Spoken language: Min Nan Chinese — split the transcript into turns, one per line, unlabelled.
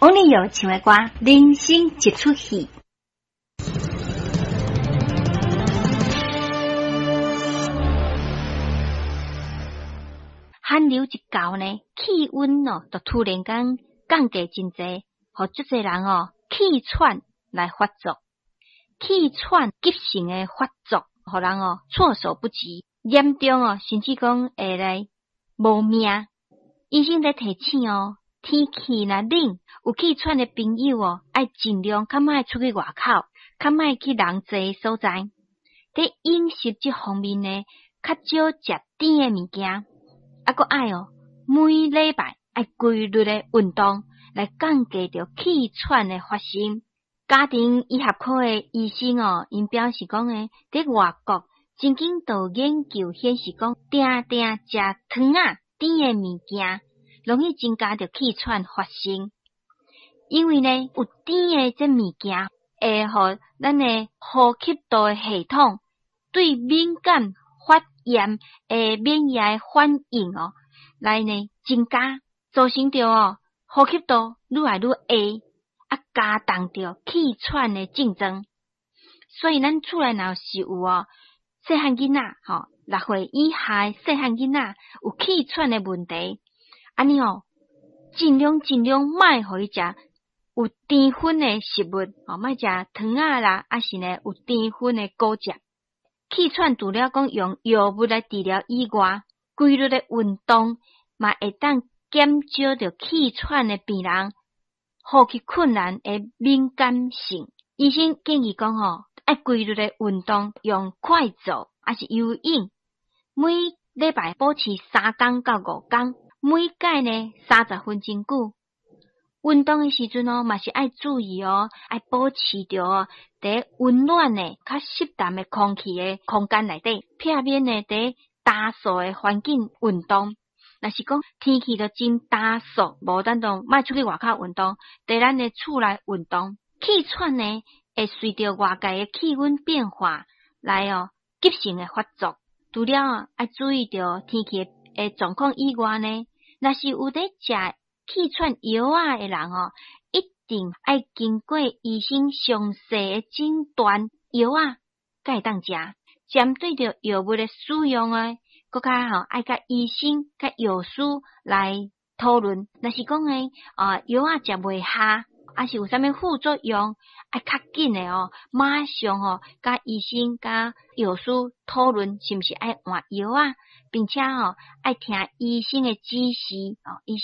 王力友唱的歌《人生一齣戲》。寒流一到呢，氣溫哦，就突然間降低真濟，予足濟人哦氣喘來發作，氣喘急性的發作，予人哦措手不及，嚴重哦，甚至講會來無命。醫生咧提醒哦，天氣若冷，有氣喘的朋友哦，愛盡量較莫出去外口，較莫去人濟所在。佇飲食這方面呢，較少食甜的物件。啊，閣愛哦，每禮拜愛規律的運動，來降低著氣喘的發生。家庭醫學科的醫生哦，𪜶表示講呢，佇外國曾經就有研究顯示講，定定食糖仔甜的物件，容易增加著氣喘發生。因為呢，有甜的這物件，會予咱的呼吸道的系統對敏感發炎的免疫反應哦，來呢增加，造成著哦呼吸道愈來愈狹，啊加重著氣喘的症狀。所以咱厝內若是有哦細漢囡仔吼，6歲以下的細漢囡仔有氣喘的問題，按呢哦盡量盡量莫予伊食有甜分的食物，哦莫食糖仔啦，抑是呢有甜分的果汁。氣喘除了講用藥物來治療以外，規律的運動嘛會當減少著氣喘的病人呼吸困難的敏感性。醫生建議講吼，愛規律的運動，用快走抑是游泳，每禮拜保持3工到5工，每擺呢30分鐘久。運動的時陣哦，嘛是愛注意哦，愛保持著哦，佇溫暖的、較濕淡的空氣的空間內底，避免呢佇焦燥的環境運動。若是講天氣都真焦燥，無咱就莫出去外口運動，佇咱的厝內運動。氣喘呢，會隨著外界的氣溫變化來哦急性的發作。除了哦愛注意著天氣的狀況以外呢，若是有佇食氣喘藥仔的人哦，一定愛經過醫生詳細的診斷，藥仔才會當食。針對著藥物的使用呢，閣較吼愛佮醫生、佮藥師來討論。若是講呢，啊藥仔食袂下，抑是有啥物副作用，愛較緊的哦，馬上吼佮醫生、佮藥師討論，是毋是愛換藥仔，並且吼愛聽醫生的指示哦，醫生。